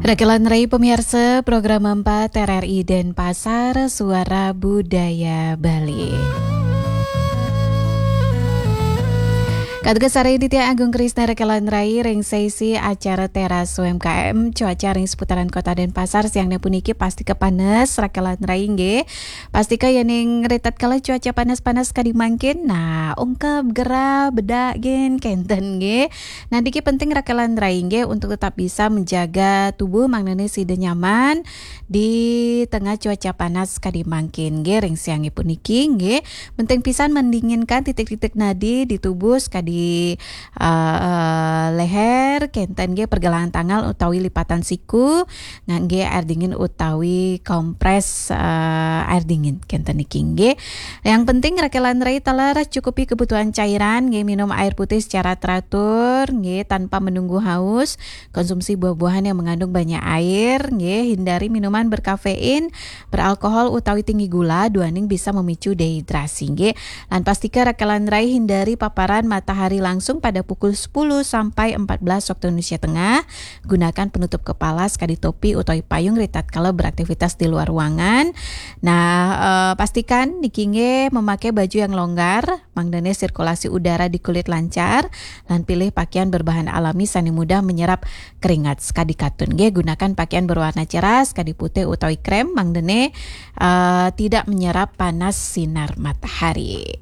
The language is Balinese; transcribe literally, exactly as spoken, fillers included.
Rakelan Rai pemirsa, program empat R R I Denpasar, Suara Budaya Bali. Katugas Sareng Ditya Agung Krisna Rakelan Rai ring sesi acara Teras U M K M, cuaca ring seputaran Kota Denpasar siang puniki pastika panas Rakelan Rai nggih. Pastika yening ritatkala cuaca panas-panas kadi mangkin, nah, ungkep gerah bedak gin kenten nggih. Nah, niki penting Rakelan Rai nggih untuk tetap bisa menjaga tubuh mangdane sida nyaman di tengah cuaca panas kadi mangkin nggih ring siangipun niki nggih. Penting pisan mendinginkan titik-titik nadi di tubuh sakadi, eh, leher, kenten nggih pergelangan tangan utawi lipatan siku ngangge air dingin utawi kompres, eh, air dingin kenten niki nggih. Yang penting Rakelan Rai taler cukupi kebutuhan cairan nggih, minum air putih secara teratur nggih tanpa menunggu haus. Konsumsi buah-buahan yang mengandung banyak air nggih, hindari minuman berkafein, beralkohol utawi tinggi gula, duaning bisa memicu dehidrasi nggih. Lan pastika Rakelan Rai hindari paparan matahari langsung pada pukul sepuluh sampai empat belas waktu Indonesia Tengah. Gunakan penutup kepala sakadi topi utawi payung ritatkala beraktivitas di luar ruangan. Nah, eh, pastikan niki nggih memakai baju yang longgar, mangdane sirkulasi udara di kulit lancar, lan pilih pakaian berbahan alami sane mudah menyerap keringat. Sakadi katun nggih, gunakan pakaian berwarna cerah, sakadi putih utawi krem, mangdane, eh, tidak menyerap panas sinar matahari.